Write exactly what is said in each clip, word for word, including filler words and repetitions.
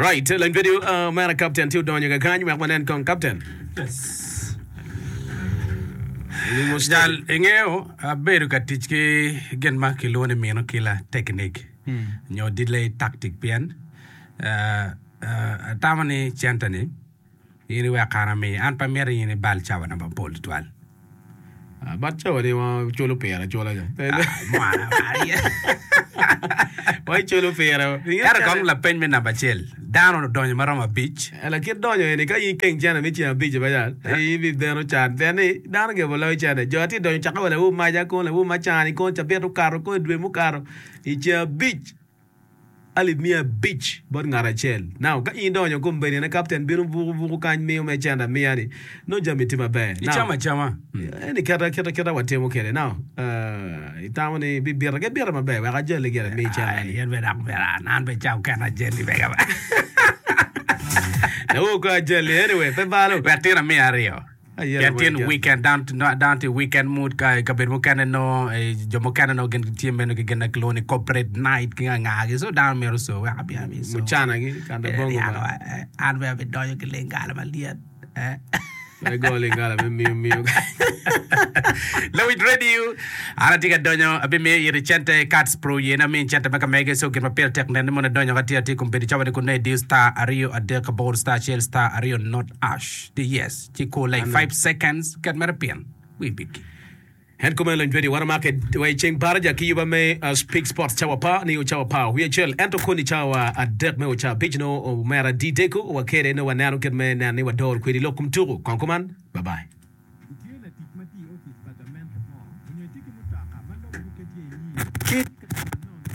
Alright, lany video uh, mera captain tye odonyo kakany wek wanen kong captain. Yes. Jal ingeo abedo ka tic ki gin ma kilwongo ni mino killer technique nyo delay tactic pien uh, uh, atamo ni cente ni in iwek an ami an pe amito in ibal cawa na mapol tutwal. Uh, but cawa ni wa culo pire acula ja. Mwana, Wa iculo pire. Ento kong lapeny me namba acel dano odonyo maromo abic Lakit donyo eni ka in keng cene me ceng abic ba jal in ibideno can pien ni dano gebo loyo cene jo atye donyo cakke wa lawu maca kon lawu macani kon cabit okato kon dwe mukato i ceng abic alip miya abic bot ngat acel now ka in donyo kombeddi ne captain bino buku buku kany miyo me cente amiya ni nongo jami tye maber now icamo acama eni keta kita kita watimo kede now uh, itamo ni bibita ke bita maber wek ajali gire mi cente ni yen bene dok bene an an be cam kena ajali bega lawu ko ajali anyway pe balo wek tin amiya aryo Ayero pien tin wek- weekend down down to weekend mood ka kabedo mukene no eh, jo mukene no gin tye meno ki gin na kilwongo ni corporate night ki ngangagi so dano myero so wek abi abi so mucana gi kanda Eh, bongo yako, ba eh, an be abidonyo ki lingala malyet eh. Pe go lingala me miyo miyo Lawit radio an atye ka donyo abimiyo iri cente cards pro yen amiyo cente ma ka mege so gin ma pire tek nen ni mono idonyo ka tye atye kombeddi cawa ni kun nongo idiyo star aryo adek aboro star acel star aryo not hash di yes ci kur like five seconds ket mere pin wi biki En kumeno lony radio wan omake wa i ceng baraja ki yuba me uh, Speak Sports cawa pa ni cawa pa wiye acel ento koni cawa adek me oca abic no omera di deko wakede no waneno kit me neno ni wador kwedi lok kom tuku kong kuman bye bye. Itye latic ma tye i opic pa gamente mo onyo itye ki mutoka ma logbukke tye i nyim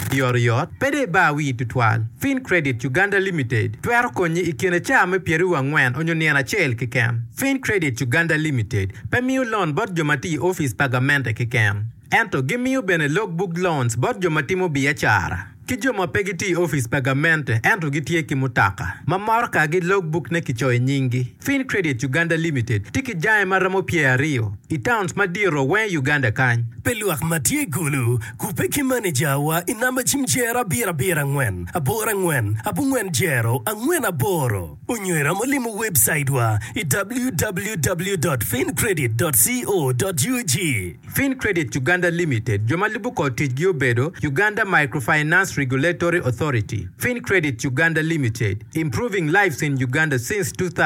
Yotoyot, pe dong ibar wii tutwal. Fin Credit Uganda Limited twero konyi i kine cawa me pyeraryo angwen onyo nino acel keken. Fin Credit Uganda Limited pe miyo loan bot jo ma tye i opic pa gamente keken. Ento gimiyo bene logbook loans bot jo ma timo biacara ki jo ma pe gitye i opic pa gamente ento gitye ki mutoka ma motoka-gi logbook ne kicoyo i nyinggi. Fin Credit Uganda Limited tye ki jange ma romo pyer aryo i towns madito weng i Uganda kany. Pe lwak ma tye gulu kupe ki manejawa i namba cim jero abiro abiro angwen aboro angwen abongwen jero angwen aboro onyo iromo limo website wa i www.fincredit.co.ug Fin Credit Uganda Limited jo ma lubo kod ticgi obedo Uganda Microfinance Regulatory Authority. Fin Credit Uganda Limited, improving lives in Uganda since two thousand.